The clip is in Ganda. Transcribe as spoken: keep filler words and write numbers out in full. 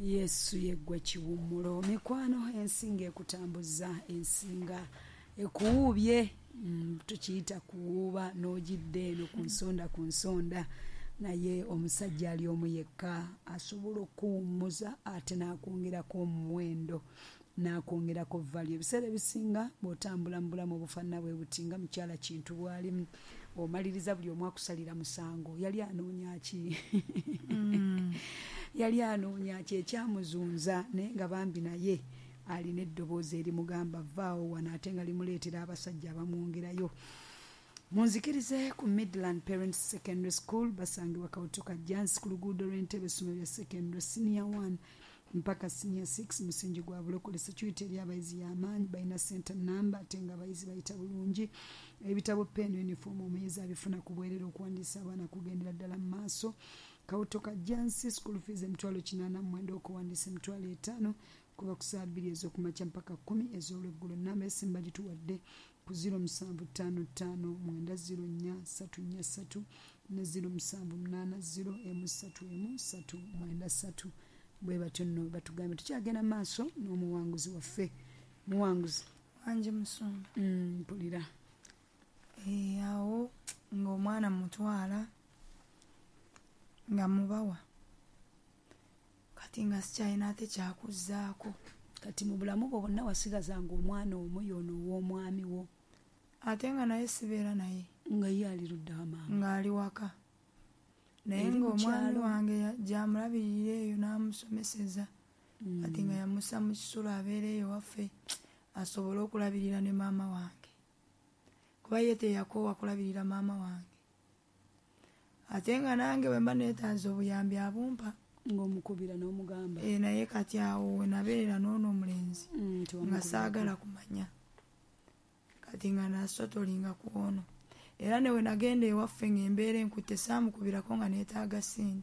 Yesu yeggwe kiwummulo. Mikwano, ensinga ekutambuza, ensinga ekuwuubye, mm, tukiyita kuwuuba n'ogidda eno ku nsonda ku nsonda, naye omusajja ali omu yekka asobola okuwummuza ate n'akwongerako omuwendo, n'akwongerako value. Ebiseera ebisinga bw'otambula mu bulamu obufaanana bwe buti nga mukyala Kintu bw'alimu, omaliriza buli omu akusalira musango. Yali anoonya ki? Yali anoonya ki ekyamuzunza? Naye nga bambi naye alina eddoboozi erimugamba vaawo wano, ate nga limuleetera abasajja abamwongerayo. Munzikirize ku Midland Parents Secondary School, basangibwa Kawutu Kajjansi ku luguudo lw'Entebe, essomero lya secondary senior one mpaka senior six, musingi gwa bulokole. Security eri abayizi y'amaanyi, balina center number ate nga abayizi bayita bulungi. Ebitabo, pen, uniform omuyizi abifuna ku bwerere. Okuwandiisa abaana kugendera ddala mu maaso. Kawutu Kajjansi, school fees emitwalo kinaana mu mwenda, okuwandiisa emitwalo etaano, kuba ku saa bbiri ez'okumakya mpaka kkumi ez'olweggulo. Namba esimu bagituwadde ku ziro musanvu ttaano ttaano mwenda ziro nnya ssatu nnya ssatu ne ziro musanvu munaana ziro emu ssatu emu ssatu mwenda ssatu. Bwe batyo nno batugambye. Tukyagenda mu maaso n'omuwanguzi waffe. Muwanguzi. Wangi, musumba. mm, mpulira Eh, awo ng'omwana mutwala nga mubawa, kati nga sikyalina ate kyakuzzaako. Kati mu bulamu bwo bwonna wasigazanga omwana omu, y'ono ow'omwami wo? Ate nga naye sibeera naye. Nga ye ali luddawa, maama? Ng'ali waka, naye Eri mu ng'omwami kyalo? wange ya- gyamulabirira eyo n'amusomeseza. Kati nga yamussa mu kisulo abeera eyo waffe asobole okulabirira ne maama wange, kuba ye teyakoowa kulabirira maama wange. Ate nga nange bwe mba neetaaza obuyambi abumpa. Ng'omukubira n'omugamba? E, naye kati awo we nabeerera n'ono omulenzi Mm, nga tewamukubirako. Saagala kumanya. Kati nga nasotolinga ku ono, era ne we nagenda ewaffe ng'embeera enkutte, saamukubirako nga neetaaga ssente.